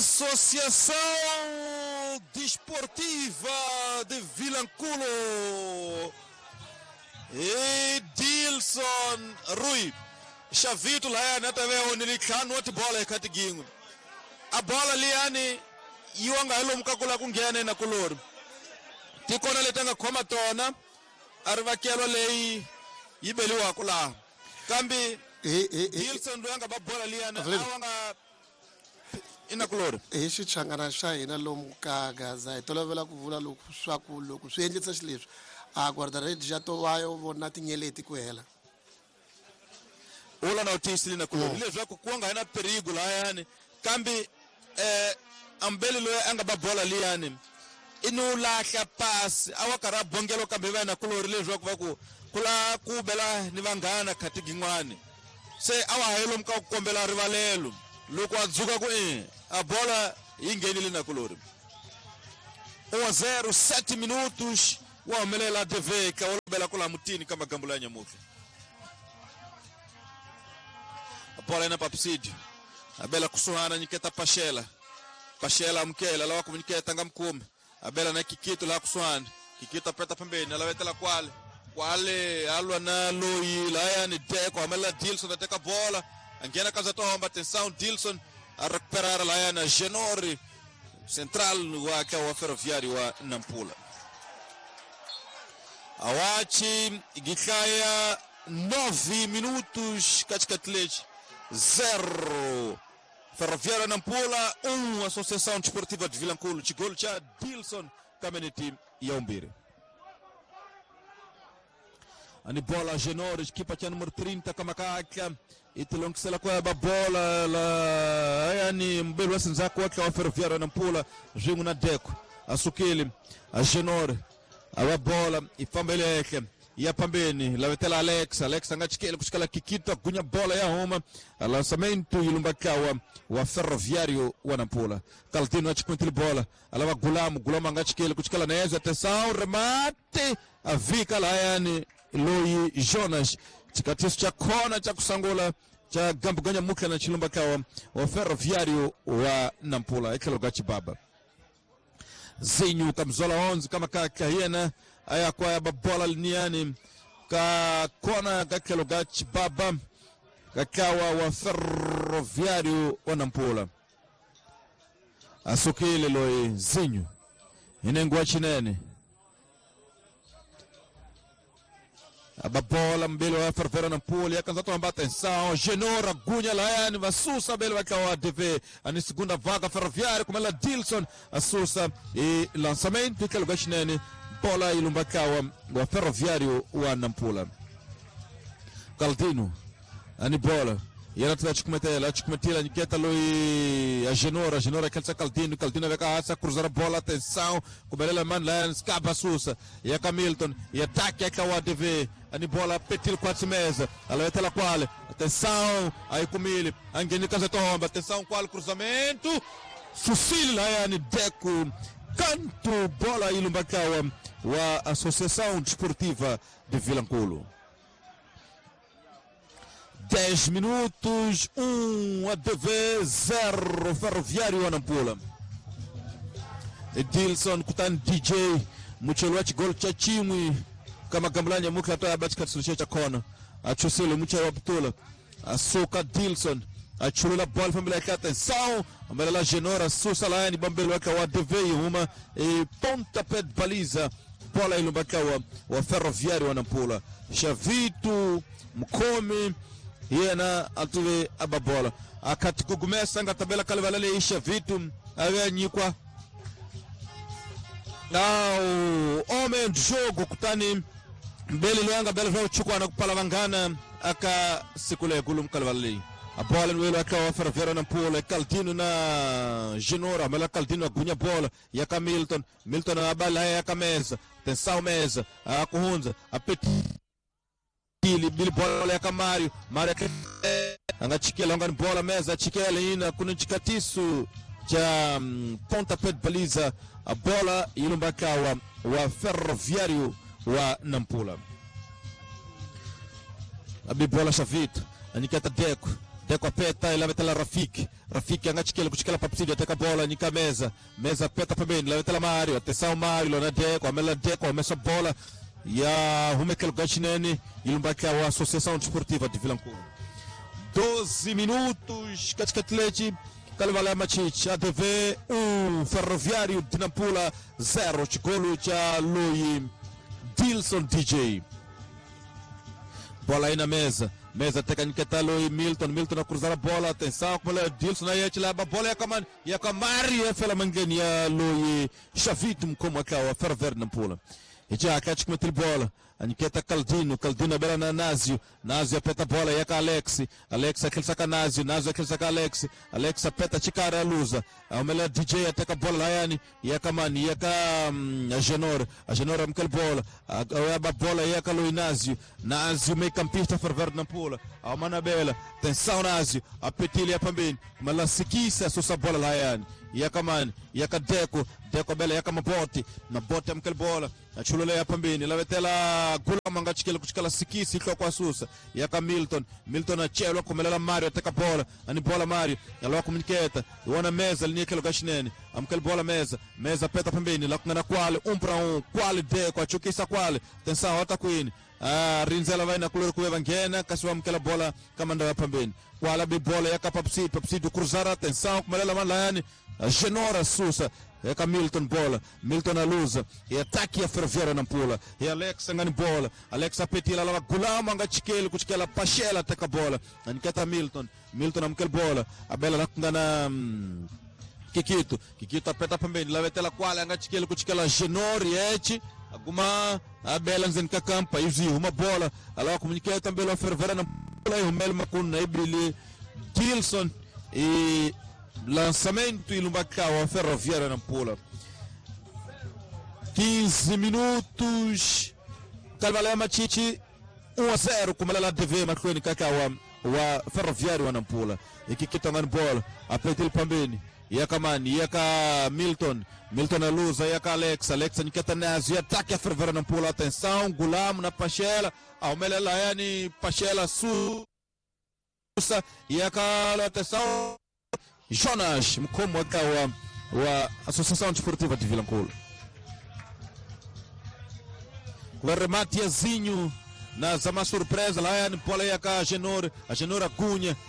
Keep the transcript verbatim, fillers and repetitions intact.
Associação Desportiva de Vilanculo. E Dilson Rui. Xavito lá na T V onde ntlhanu wa tibola eka tigin'we. A bola liyani yi wa nga hi lomu ka ku lava ku nghena na kulori. Tikona leti a nga khoma tona a ri vakelwa leyi yi beliwaka laha. Kambe Dilson loyi a nga ba bola liyani a wa nga ina kulori. Hi xichangana xa hina lomu ka Gaza hi tolovela ku vula loko swa ku loko swi endlisa xileswi a guarda-redes ya to va yo vona tinyeleti ku hela. Ula na utiyisile na kulori leswaku ku nga na perigo lahayani kambe eh ambeli loyi a nga ba bola liyani i no lahla pasi a wa karhi a bongelo kambe va na kulori leswaku va ku kula ku bela ni vanghana khati gin'wani se a wa ha lomu ka ku kombela rivalelo loko a dzuka ku e a bola yi nghenile na kulori. um a zero, sete minutos wa humelela D V ka wa bela kula mutini ka magambo ya nyamuhla. A bola ina Papsídio. A bela kusuhana nyiketa Pachela. Pachela amukela lawa ku nyiketa nga mukumi. A bela na Kikito la kusuhana. Kikito aperta pembeni, ala vetela kwale. Kwale alwa na loyi layani Deko amela Dilson ateka bola. Angena kaza tomba atenção Dilson a recuperar layana Genori central wa wa Ferroviário wa Nampula. Awachi gitlaya nove minutos katikati zero Ferroviário Nampula um Associação Desportiva de Vilanculo. Gol cha Dilson Kameneti ya umbiri. Ani bola Genori equipa cha número trinta kamakaka itilongisela kwa bola la yani mbelu wasinzako wake wa Ferroviário Nampula ringu na Deko asukile a Genori a bola ifambele yake ya pambeni la vetela Alex Alex angachikele kushikala Kikito gunya bola ya homa lançamento ilumbakawa wa Ferroviário wa Nampula. Caldino achikwintile bola alava Gulamu Gulamu angachikele kushikala neza atenção remate avika la yani Loi Jonas chikatiso cha kona cha kusangula cha gambuganya mukla na chilumbakawa wa Ferroviário wa Nampula ekhelo Chibaba Zinho kamzola onze kama kaka yena aya kwa bola liniani ka kona kakhelo ga Chibaba kakawa wa Ferroviário wa Nampula asukile loi Zinho inengwa chinene ababola mbele wa Ferroviário Nampula yakanza tomba atenção Genora gunya layani vasusa bele wa D V ani segunda vaga Ferroviário kumela Dilson asusa e lançamento khelo ga chinene bola ilumbakawa wa Ferroviário wa Nampula. Caldino ani bola yena tla chikumetela nyiketa loi a Genora Genora kelsa Caldino Caldino veka asa cruzar bola atenção kubelela man Lions kaba susa ya Hamilton e ataque ya wa D V ani bola petil quatro mesa ela vetela quale atenção aí kumile angeni kaza tomba atenção qual cruzamento Sucila yani Deco canto bola ilumbakawa wa Associação Desportiva de Vilanculo. dez minutos, um a D V, zero Ferroviário Nampula. Edilson kutani D J muchelo wa gol cha chimwi kama gamblanya mukla toya batika tsuche cha kona achusile muchelo wa putula asuka Dilson achulula bola família aqui atenção amarela Genora susa lá ni bambelo wake wa D V uma e pontapé de baliza bola ilumbakawa wa Ferroviário wa Nampula. Xavito Mkomi yena atuve ababola akati kugumesa nga tabela kalevalele isha vitu avenyikwa nao homem do jogo kutani mbele lwanga bela vya uchukwa na kupala vangana aka sikule gulu mkalevalele a bola no aka wa Ferroviário Nampula Caldino na Genora mela Caldino agunya bola ya Hamilton Milton abala ya Kameza tensão mesa a kuhunza apeti ili bola ya Mario Mario angachikela ngani bola meza chikela ina kuna chikatisu cha um, pontapé de baliza a bola ilumbakawa wa Ferroviário wa Nampula. Abi bola Xavito aniketa Deco Deco apeta ilavetela Rafiki. Rafiki angachikele kuchikela Papsidi ateka bola nyika meza. Meza peta pembeni ilavetela Mario. Atenção Mario lona Deco, amela Deco amesa bola ya humekelo gachinene ilumbakia wa Associação Desportiva de Vilanculo. doze minutos katikati lechi Kalevala Machichi A D V um, Ferroviário de Nampula zero, chigolo cha Lui Dilson D J. Bola aí na mesa. Mesa técnica Lui Milton, Milton a cruzar a bola, atenção, como é Dilson aí a bola é com a com Maria fela mangenia Lui Chavito como aquela Ferroviário de Nampula. E já cá te mete bola. Aniqueta Caldino, Caldino bela na Názio, Názio apeta a bola, e Alex, Alex aquele saca Názio, Názio aquele saca Alex, Alex apeta Chicara a Lusa, a melhor D J ataca a bola Laiane, e a Kamani, e a Genor, a Genor amkel bola, a bola e a Lui Názio, Názio meio campista ferver na pula, a Manabela, tensão Názio, a Petilha também, mas lá se quis a sua bola Laiane, e a Kamani, e a Deco, Deco bela e a Mabote, na bote amkel bola, a Chulule pambini, lá vai ter lá Gulama ngachikela kuchikela sikisi iko kwa susa yaka Milton, Milton achelo kumelela Mario ateka bola, ani bola Mario, yaloa kumniketa, iona meza linikelo gashinene, amkel bola meza, meza peta pembeni, la kungana kwale, um para um, kwale Deco, achukisa kwale, tensão ota queen. Ah, rinzela vai na kulur kueva ngena, kasiwa mkela bola kamanda ya pembeni. Kwala bi bola yaka Papsi, Papsi do cruzar atenção, kumelela malayani, Genora Susa. É Milton bola, Milton a lusa, e ataque a Ferroviária Nampula, e Alex angani bola, Alex apetila lava Gulama angachikele kuchikela Pachela ataka bola, aniketa Milton, Milton amkel bola, a bela nakungana hum, Kikito, Kikito apeta pembeni, lavetela kwale angachikele kuchikela Genori echi, aguma a bela nzenika kampa, izi uma bola, alawa komuniketa mbele wa Ferroviária Nampula, e o Mel Makuna ibili Gilson e lançamento e Lumbacau, a Ferroviária Nampula. quinze minutos. Calvalé Machichi um a zero com a D V Macron Cacau, o Ferroviário Nampula. E que que bola, a Petil Pambini, e a Kamani, e a Milton, Milton a Lusa, e a Alex, Alex Niketa Nazi, ataque a Ferroviária Nampula, atenção, Gulam na Pachela, Almelia Laiane, Pachela Susa, e a atenção. Jonas Mkomo wa, wa Associação Desportiva de Vilanculo. O remate Azinho na zama surpresa lá é bola aí a Genor, a Genor Acunha,